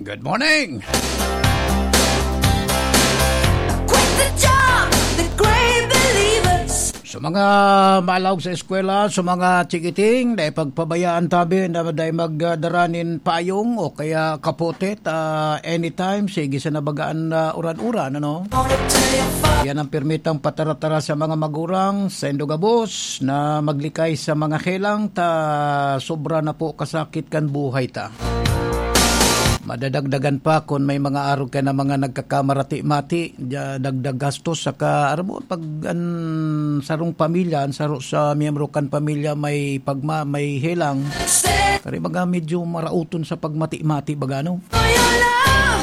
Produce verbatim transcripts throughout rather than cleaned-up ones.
Good morning! Quit the job, the great believers. Sa mga malaog sa eskwela, sa mga chikiting, dai pagpabayaan tabi na dai magdara nin payong o kaya kapote, ta anytime, sige sa nabagaan na uran-uran, ano? Yan ang pirmitang pataratara sa mga magurang, sendo gabos, na maglikay sa mga helang, ta sobra na po kasakit kan buhay ta. Madadagdagan pa kun may mga arog ka na mga nagkakamarati-mati, da-, dagdag gastos, saka, aram mo, pag an sarong pamilya, an saro sa miyembro kan pamilya may pagma-, may helang, kari baga medyo marauton sa pagmati-mati baga, no?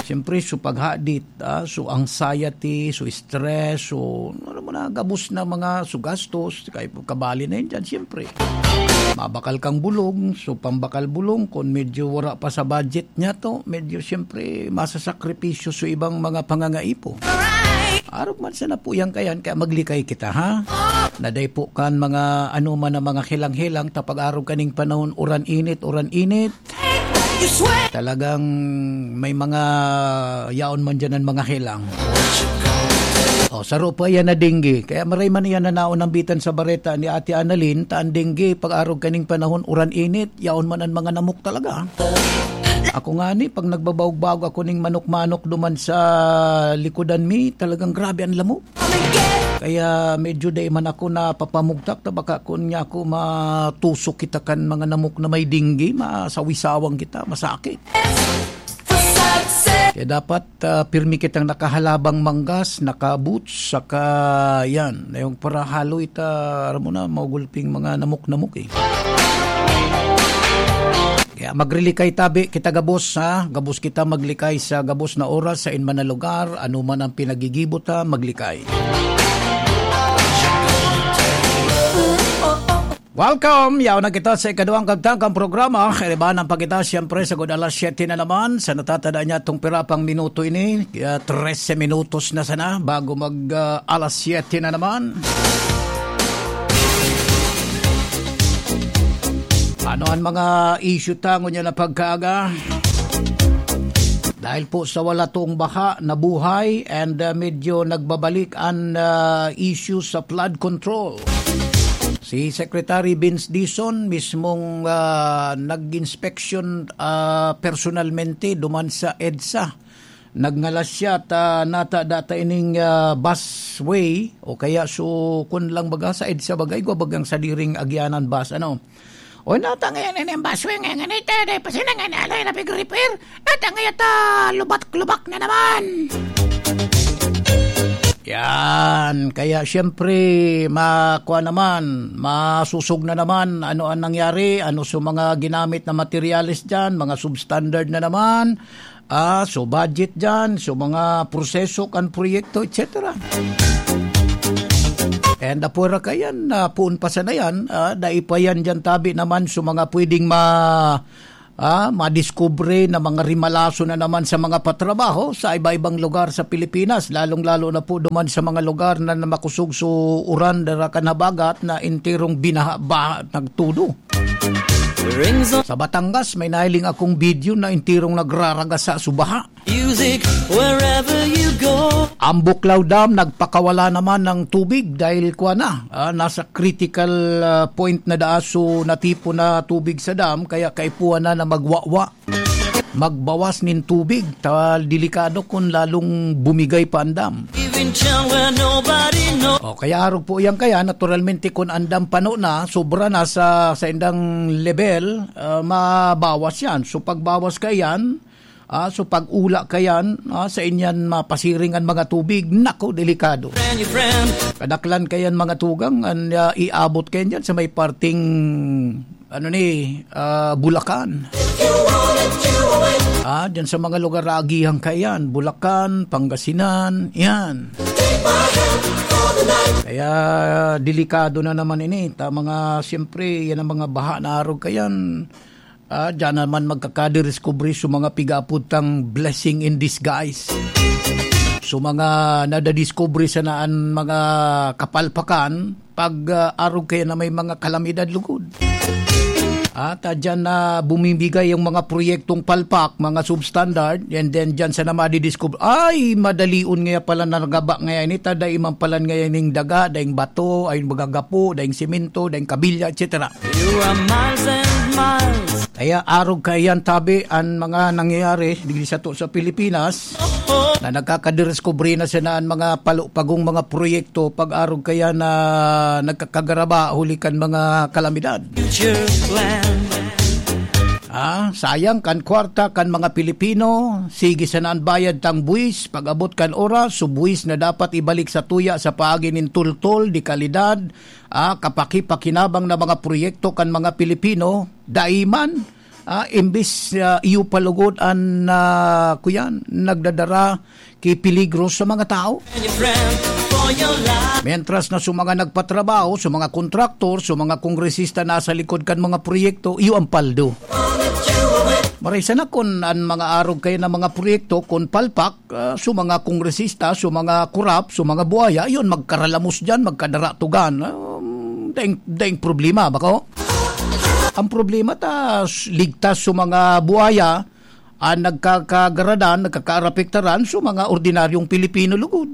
Siyempre, so paghadit, ah, so anxiety, so stress, so, aram mo na, gabos na mga, so gastos, kay kabali na yun dyan, siyempre. Mabakal kang bulong, so pambakal bulong, kung medyo wala pa sa budget niya to, medyo siyempre masasakripisyo sa ibang mga pangangaipo. Arog man sana po yan kayan, kaya maglikay kita, ha? Naday po kan mga ano man ang mga helang-helang, tapag arog kaning panahon, uran-init, uran-init. Talagang may mga yaon man dyan ang mga helang. O, saro pa yan na dengue. Kaya maray man yan na naon ang bitan sa bareta ni Ate Annalyn, ta an dengue, pag-arog kaning panahon, uran-init, yaon man ang mga namok talaga. Ako nga ni, pag nagbabaog-baog ako ning manok-manok duman sa likodan mi, talagang grabe ang lamok. Kaya medyo dai man ako napapamugtak, ta baka kun niya ako matusok kita kan mga namok na may dengue, masawisawang kita, masakit. Kaya dapat, ah, pirmi kitang nakahalabang manggas, naka-boots, saka yan, na yung para haloy ta, aram mo na, magulping mga namok-namok eh. Kaya magrilikay tabi kita gabos, ha? Gabos kita maglikay sa gabos na oras, sa inman na lugar, ano man ang pinagigibo ta, maglikay. Welcome! Yaon na kita sa ikaduhang kagtang kan programa. Kaibanan pa kita, siyempre, sa good alas siyete na naman. Sa natatada niya itong pirapang minuto ini, kaya trese minutos na sana bago mag, ah, alas siyete na naman. Ano ang mga issue tango niya na pagkaaga? Dahil po sa wala tong baha, nabuhay and, ah, medyo nagbabalik ang, ah, issue sa flood control. Si Secretary Vince Dizon mismong, ah, nag-inspeksyon, ah, personalmente duman sa EDSA. Nagngalas siya ta nata data ining, ah, busway o kaya so kun lang baga sa EDSA bagay, gwa bagang sadiring agyanan bus, ano. O nata ngayon ini ang busway ngayon, ito, dahil pa sila ngayon, alay na big repair. Nata ngayon ta, lubak-lubak na naman. Yan. Kaya siyempre, makuha naman, masusog na naman ano ang nangyari, ano so mga ginamit na materyales dyan, mga substandard na naman, ah, so budget dyan, so mga proseso kan proyekto, et cetera. And apura kayan, ah, puon pa sana yan, ah, dai pa yan dyan tabi naman so mga pwedeng ma-, ah, madiskubre na mga rimalaso na naman sa mga patrabaho sa iba-ibang lugar sa Pilipinas, lalong-lalo na po duman sa mga lugar na, na makusog so uran dara kan habagat na enterong binaha-baha nagtudo. Rings on Sa Batangas, may nahiling akong video na enterong nagraragasa so baha. Music wherever you go. Ang Buklaw Dam nagpakawala naman ng tubig dahil kwa na, ah, nasa critical, ah, point na daa so natipon na tubig sa dam, kaya kaipuhan na na magwawa, magbawas nin tubig. Ta-, delikado kung lalong bumigay pa ang dam. Even chill where nobody knows. O, kaya arog po yan kaya, naturalmente, kung ang dam pano na, sobra na sa, sa indang level, ah, mabawas yan. So, pagbawas ka yan, ah, so pag-ula ka yan, ah, sa inyan mapasiring ang mga tubig, nako, delikado. Friend, your friend. Kadaklan ka yan, mga tugang, an, ah, iabot ka yan dyan sa may parting, ano ni, ah, Bulacan. Ah, dyan sa mga lugar, agihan ka yan. Bulacan, Pangasinan, yan. Kaya delikado na naman ini. Ta, mga, siyempre, yan ang mga baha na arog ka yan. Ah, diyan naman magkakadiskubre sa mga pigapod tang blessing in disguise. Sa mga nadadiskubre sana an mga kapalpakan, pag, ah, arog kaya na may mga kalamidad lugod. At, ah, dyan na bumibigay yung mga proyektong palpak, mga substandard, and then dyan sa na madidiscover, "Ay, madalion ngaya pala na nagaba ngaya ini, ta dai man pala ngaya ning daga, daing bato, ay magagapo, daing simento, daing kabilya, et cetera." You are miles and miles. Kaya arog kaiyan tabi an mga nangyayari digdi sato sa Pilipinas, na nagkakadiskubre na sana an mga palupagong mga proyekto pag-arog kaya na nagkakagaraba huli kan mga kalamidad. Future plan. Ah, sayang kan kwarta kan mga Pilipino, sige sana an bayad tang buwis, pag-abot kan oras, so buwis na dapat ibalik sa tuya sa paagi nin tultol, de kalidad, ah, kapakipakinabang na mga proyekto kan mga Pilipino, dai man, ah, imbis, ah, iyo pa lugod an, ah, kuyan, nagdadara ki peligro sa mga tao. Mientras na sa mga nagpatrabaho, sa mga kontraktor, sa mga kongresista nasa likod kan mga proyekto, iyo ang paldo. Maray sana kun an mga arog kaya na mga proyekto, kun palpak, ah, sa mga kongresista, sa mga korap, sa mga buhaya, yun, magkaralamos dyan, magkadaratugan. Um, daing, daing problema, bako? Ang problema ta, s-, ligtas sa mga buhaya, ang nagkakagaradan, nagkakaarapektaran sa mga ordinaryong Pilipino lugod.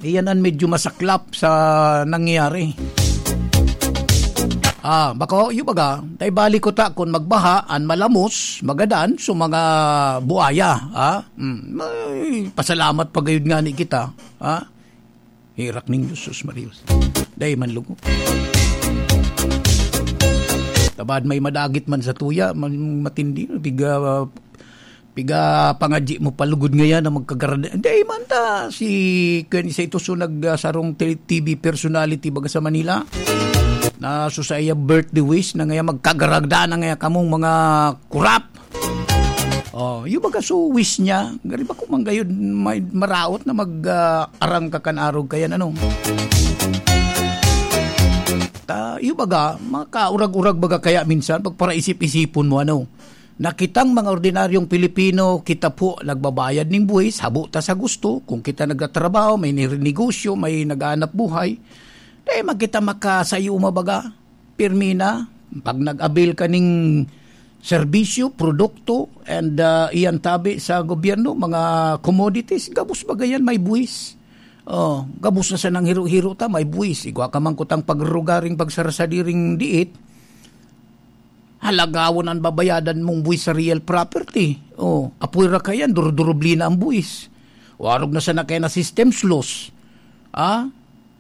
Iyan ang medyo masaklap sa nangyayari. Ah, bako, yung baga, tayo balik ko ta kung magbaha, an malamos, magadan, sa mga buaya, ha? Hmm, may pasalamat pa gayud nga ni kita, ha? Herak ning Diyos, sus, Marios. Dai man lugod. Tabad may madagit man sa tuya, man-, matindi, piga, piga pangadyi mo palugod ngayan na magkagarada. Dai man ta, si, kaya sa ito so nag, ah, sarong te-, T V personality baga sa Manila, na so sa iya birthday wish na ngayon magkagarada na ngayon kamong mga kurap. Oh, yung baga so wish niya, gari ba kung manggayod may maraot na mag, ah, arang ka kan arog kaya ano? Ta, yung baga, makaurag-urag baga kaya minsan, pagparaisip-isipon mo, ano? Na kitang mga ordinaryong Pilipino, kita po nagbabayad ning buwis, habo ta sa gusto, kung kita nagtatrabaho, may nire-, negosyo, may naghahanap buhay, dai man kita makasayuma baga. Pirmi na, pag nag-avail ka ning serbisyo, produkto, and, ah, iyan tabi sa gobyerno, mga commodities, gabos baga yan, may buwis. Oh, gabos na sanang hiro-hiro ta, may buwis. Igwa ka man kutang pagrugaring pagsarasadiring diit, halagawon an babayadan mong buwis sa real property. Oh, apoy ra kayan, durdurublina ang buwis. Warog na sana kaya na systems loss. Ah?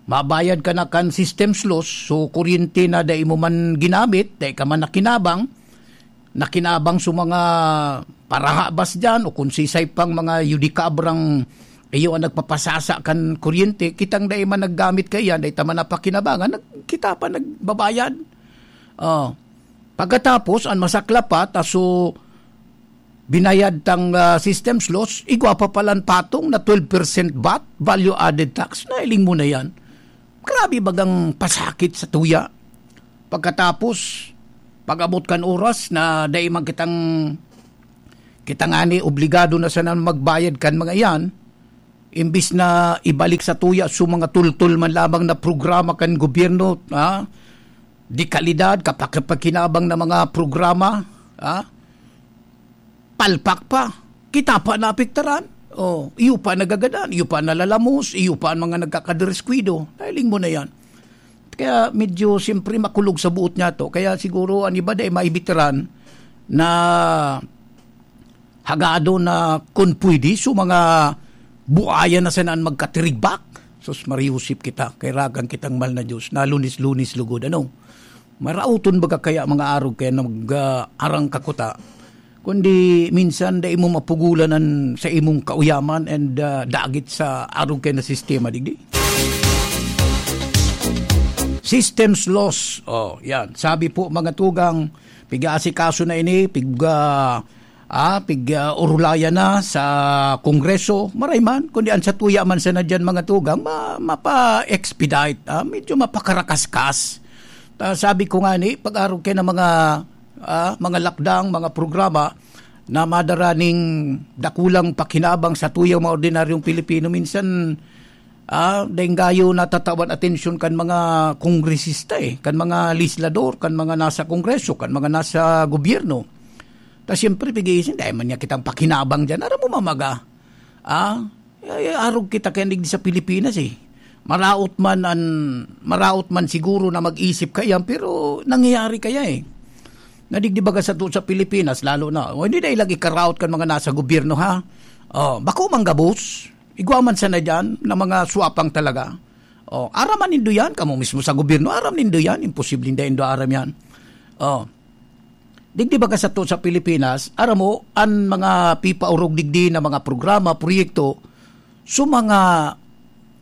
Mabayad ka na kan systems loss, so kuryente na dai mo man ginamit, dai ka man nakinabang, nakinabang sa mga parahabas diyan o kung sisay pang mga yudikabrang iyo ang nagpapasasa kan kuryente, kitang dai man naggamit kaiyan, dai ta man napakinabangan, nag-, kita pa nagbabayad. Oh. Pagkatapos, an masaklap pa, ta so binayad tang, ah, systems loss, igwa pa palan patong na twelve percent vat, value added tax, nailing mo na yan. Grabe bagang pasakit sa tuya. Pagkatapos, pag-abot kan oras na dai man kitang, kita ngani obligado na sana magbayad kan mga iyan, imbis na ibalik sa tuya so mga tultol man lamang na programa kan gobyerno, ha? De kalidad, kapakipagkinabang na mga programa, ha? Palpak pa. Kita pa naapektaran. Oh, iyo pa nagagadan, iyo pa nalalamos, iyo pa ang mga nagkakadiriskwido. Nailing mo na yan. Kaya medyo, siyempre, makulog sa buot niya to. Kaya siguro, an iba dai maibitaran na hagado na kun pwede, so mga buaya na sana an magkatirigbak. Sus, mariusip kita, kay ragan kitang mahal na Diyos, na lunis-lunis lugod, ano? Marauton baga kaya mga arog kaya nag, ah, arang kakuta? Kundi minsan dai mo mapugulan an sa imong kauyaman and, ah, dagit sa arog kaya na sistema, digdi? Systems loss. Oh, yan. Sabi po, mga tugang, piga-asikaso na ini, piga, ah, pig, ah, urulayan na sa Kongreso, maray man, kundi an satuya man sana diyan, mga tugang, ma-, mapa-expedite, ah, medyo mapakarakaskas. Ta, sabi ko nga ni, pag-arog kaya ng mga, ah, mga lakdang, mga programa na madara ning dakulang pakinabang sa tuyang mga ordinaryong Pilipino, minsan Ah, daing gayo natatawan atensyon kan mga kongresista, eh, kan mga legislador, kan mga nasa kongreso, kan mga nasa gobyerno. Ta siyempre, pag-iisin, dai man niya kitang pakinabang diyan. Aram mo, mamaga, ah, ay, ay, arog kita kaya digdi sa Pilipinas, eh. Maraot man an, maraot man siguro na mag-isip kaiyan, pero nangyayari kaya, eh. Na digdi baga sato sa Pilipinas, lalo na, o, hindi dai lagi karaot kan mga nasa gobyerno, ha? Oh, bako man gabos. Igwa man sana diyan na mga swapang talaga. Oh, aram man nindo yan, kamo mismo sa gobyerno, aram nindo yan, imposibleng dai nindo aram yan. Oh. Digdi baga sato sa Pilipinas, aram mo, an mga pipaorog digdi na mga programa, proyekto, so mga,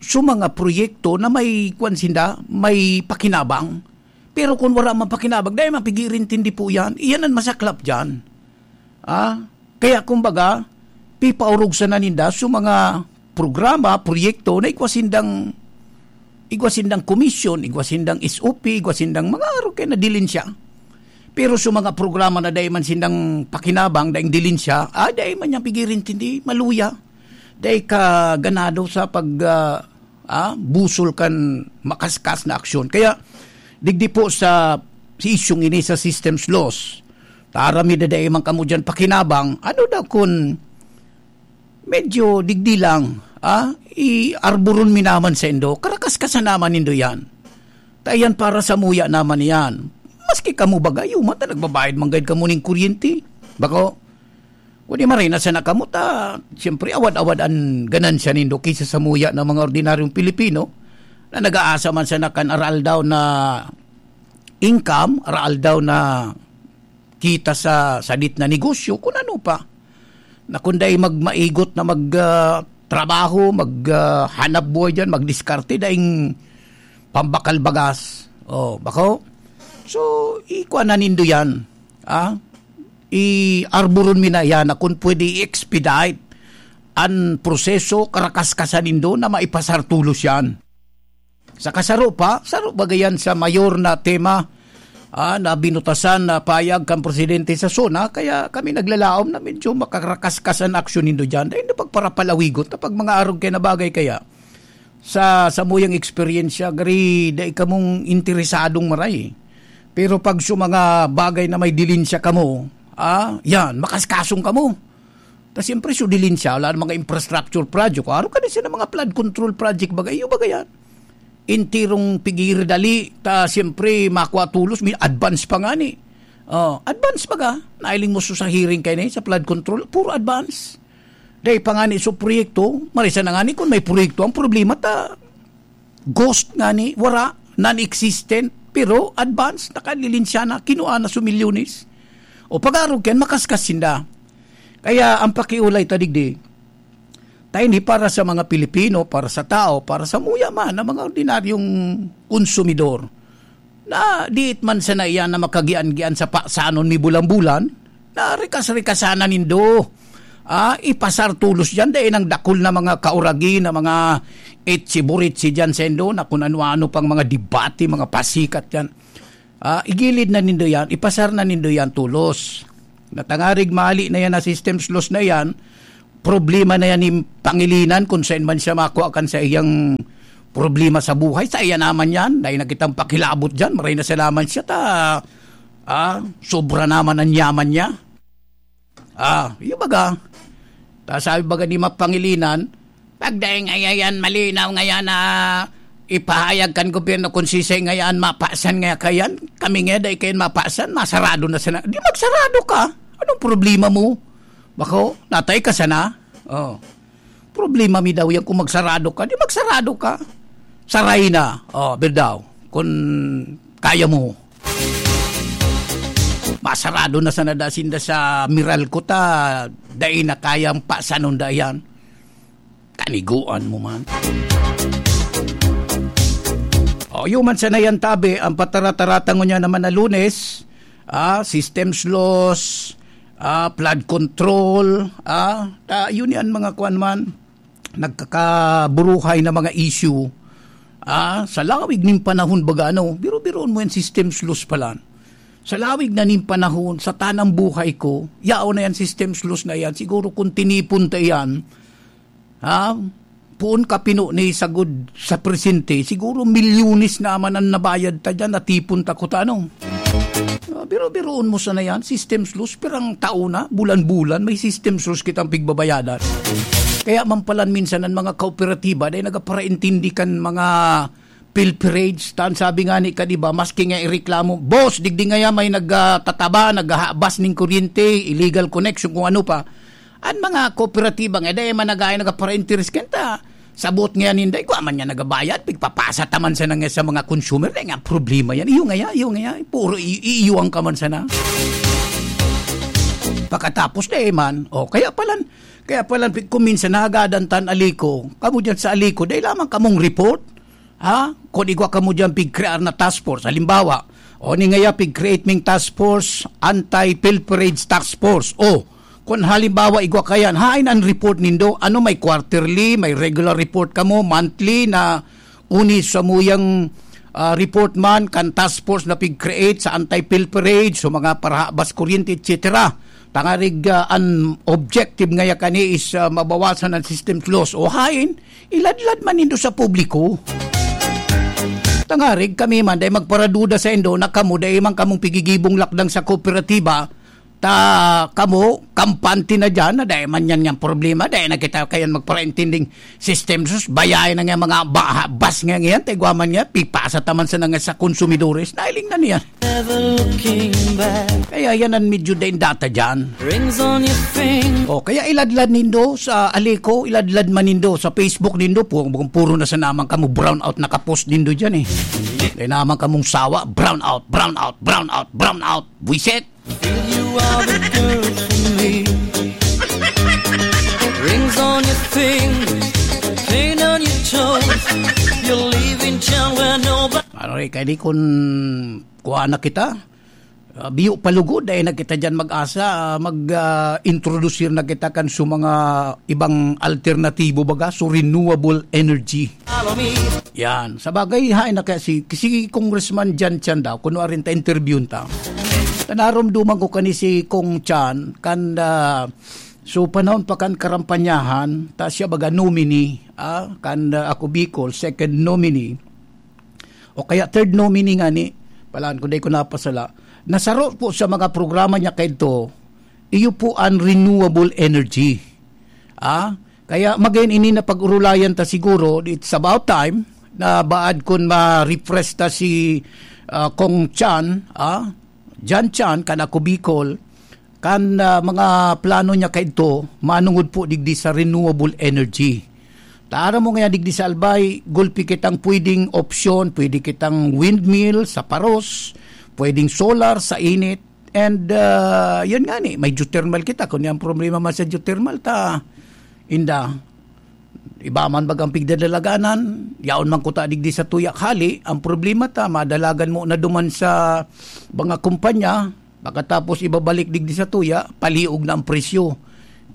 so mga proyekto na may, kwan sinda, may pakinabang. Pero kung wala man pakinabang, dai man pig-iirintindi po yan. Iyan an masaklap diyan. Ah, kaya kumbaga, pipaorog sana ninda so mga programa, proyekto na igwa sindang, igwa sindang komisyon, igwa sindang S O P, igwa sindang mga arog kaya na dilin siya. Pero so mga programa na dai man sindang pakinabang, daing dilin siya, ah, dai man niya pig-iirintindi, maluya. Dai ka ganado sa pag, ah, ah, busol kan makaskas na aksyon. Kaya, digdi po sa, sa isyung ini sa systems laws, ta aram mi dai man kamo diyan pakinabang, ano daw kun medyo digdi lang, ah, iarboron mi naman saindo, karakas ka sa naman nindo yan. Ta yan para sa muya naman yan. Maski kamo baga, yuman ta nagbabayad man gayud kamo ning kuryente. Bako, kundi maray na sana kamo ta, siyempre, awad-awad an ganansya nindo kaysa sa muya ng mga ordinaryong Pilipino na nag-aasa man sana kan aral daw na income, aral daw na kita sa sadit na negosyo, kung ano pa. Na kung dai magmaigot na mag, ah, trabaho, mag, ah, hanap buhay diyan, magdiskarte, daing pambakal bagas. Oh, bako? So, ikuha na nindo yan. Ah? Iarboron mi na yan na kung pwede i-expedite an proseso, karakaskasan nindo na maipasar tulos yan. Sa kasaro pa, saro baga yan sa mayor na tema, ah, na binutasan na payag kan presidente sa SONA, kaya kami naglalaom na medyo makarakaskas an aksyon nindo dyan. Dahil na pagparapalawigot na pag mga arog kaya na bagay kaya. Sa, sa muyang eksperyensya, gari, dai kamong interesadong maray. Pero pag sa mga bagay na may dilinsya kamo, ah, yan, makaskasong kamo. Ta siyempre, so dilinsya, wala na mga infrastructure project. Aro ka na siya ng mga flood control project, baga, iyo baga yan. Intirong pigiri dali, ta siyempre, makwa tulos, may advance pa nga ni. Oh, advance baga, nailing mo sa hearing kayo na yun, sa flood control, puro advance. Dai pa nga ni so proyekto, marisa na nga ni kung may proyekto. Ang problema ta, ghost nga ni, wara, non-existent, pero advance, nakadilinsya na, kinuha na so milyones. O pag-arog yan, makaskas sinda. Kaya ang pakiulay ta digdi, ta hindi para sa mga Pilipino, para sa tao, para sa muya man, ang mga ordinaryong konsumidor. Na diit man sana iyan na makagian-gian sa pasanon mi bulan-bulan, na rikas-rikasan na nindo. Ah, ipasar tulos diyan, dai nang dakul na mga kauragi na mga etsi-buritsi diyan sendo, na kung ano-ano pang mga debate, mga pasikat yan. Ah, igilid na nindo yan, ipasar na nindo yan tulos. Natangarig mali na yan na systems laws na yan, problema na yan ni Pangilinan kung saan man siya makuha kan sa iyang problema sa buhay. Sa iya naman yan, dahil na kitang pakilabot dyan, maray na salaman siya, ta, ah, sobra naman ang yaman niya. Ah, yung baga, ta sabi baga ni Mapangilinan, pagdaing ayayan, malinaw ngayon na ipahayag kan gobyerno kung sisay ngayon mapasan nga kayan, kami nga dai kayan mapasan, masarado na sana. Di magsarado ka. Anong problema mo? Bako, natay ka sana? Oh. Problema mi daw yan kung magsarado ka. Di magsarado ka. Saray na. Oh, birdaw. Kung kaya mo. Masarado na sana da sinda sa Meralco ta. Dai na kayang pasanon da yan. Kaniguan mo man. O, yun man sana yan, tabi. Ang patarataratang niya naman na Lunes, ah, systems laws, ah, flood control, ah, ta, yun yan, mga kwan man, nagkakaburuhay na mga issue, ah, sa lawig nin panahon baga, ano, biro-biroon mo yan, systems laws pala. Sa lawig na nin panahon, sa tanang buhay ko, yaon na yan, systems laws na yan, siguro kung tinipon ta yan, ha? Poon ka pino ni sagod sa presente, siguro milyones naman an nabayad ta diyan, natipon ta kuta, ano? Ah, biro-biroon mo sana yan, systems loss, pirang taon na, bulan-bulan, may systems loss kitang pigbabayadan. Kaya man palan minsan an mga kooperatiba, dai nagaparaintindi kan mga pilferage, ta an sabi nga ni ka, di ba, maski nga ireklamo, "Boss, digdi ngaya may nagtataba, naghahabas ning kuryente, illegal connection," kung ano pa. An mga kooperatiba nga, dai man nag-aay nagaparainteres kanta. Sabot nga ninda, igwa man niya nagabayad, pigpapasa ta man sana nga sa mga consumer, dai nga problema yan. Iyo nga ya, iyo nga ya, puro i-, iiwang ka man sana. Pakatapos, dai man. O, kaya palan, kaya palan, pi-, kung minsan nagadan tan Alico, kamo dyan sa Alico, dai lamang kamong report. Ha? Kung igwa kamo dyan pigkrear na task force, halimbawa, o ni ngaya pig-create ming task force, anti-pilferage task force. O, kung halimbawa igwa kayan, hain an report nindo? Ano, may quarterly, may regular report kamo, monthly na uni sa muyang, ah, report man kan task force na pig-create sa anti-pilferage, so mga parahabas kuryente, et cetera. Tangarig, ah, an objective ngaya kani is, ah, mabawasan an system loss. O hain, iladlad man nindo sa publiko. Tangarig kami man, dai magparaduda saindo na kamo, dai man kamong pigigibong lakdang sa kooperatiba, ta kamo, kampante na diyan, na dai man yan yang problema, dai na kita kayan magparaintinding system sus, bayay na nga mga ba-, bas nga ngayon, ta igwa man nga, pipasa ta man sana nga sa konsumidores, nailing na niya. Never looking back. Kaya yan ang medyo daing data dyan. Rings on your finger. O, kaya iladlad nindo sa Alico, iladlad man nindo sa Facebook nindo, pu-, puro na sa naman kamo brown out nakapost nindo dyan eh. Kaya naman kamong sawa, brown out, brown out, brown out, brown out. Buisit! Feel you are the girl for me. Rings on your fingers, paint on your toes. You're leaving town where nobody Ano rin, kaya di kun kuha na kita, ah, biyo palugod, ay na kita dyan mag-asa, ah, mag, ah, introduce na kita kan sa mga ibang alternatibo, baga, so renewable energy. Follow me. Yan. Sa bagay, hain na kaya si, si Congressman Jan Chan daw, kuno arin ta interview ta. Naromduman ko kani si Kong Chan, kan, ah, so panahon pa kan karampanyahan, ta siya baga nominee, ah, kan, ah, Ako Bicol, second nominee. O kaya third nominee nga ni, palaan ko, dai ko napasala, nasaro po sa mga programa niya kaidto, iyo po ang renewable energy. Ah, kaya magayon ini na pag-urulayan ta siguro, it's about time na baad kun ma-refresh ta si, ah, Kong Chan, ah, Jan Chan, kan Ako Bicol, kan, ah, mga plano niya kaidto, manungod po digdi sa renewable energy. Tara mo nga digdi sa Albay, gulpi kitang pwedeng opsyon, pwede kitang windmill sa paros, pwedeng solar sa init, and, ah, yun nga ni, may geothermal kita. Kung yung problema man sa geothermal, ta, inda, iba man bagang pigdadalaganan, yaon man kuta digdi sa tuya hali, ang problema ta, madalagan mo na duman sa mga kumpanya, pagkatapos ibabalik digdi sa tuya, paliog na ang presyo.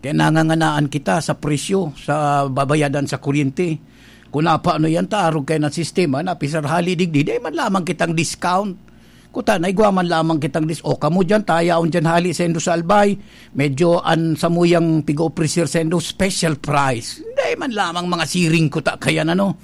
Kaya nanganganaan kita sa presyo sa babayadan sa kuryente. Kung napaano yan, ta, arog kayo ng sistema na pisar hali digdi, dai man lamang kitang discount. Kuta, naigwa man lamang kitang dis-, o kamo dyan, tayaon dyan hali sa indo sa Albay, medyo an samuyang pigo-ofrecer sa indo, special price. Dai man lamang mga siring kuta kayan, ano.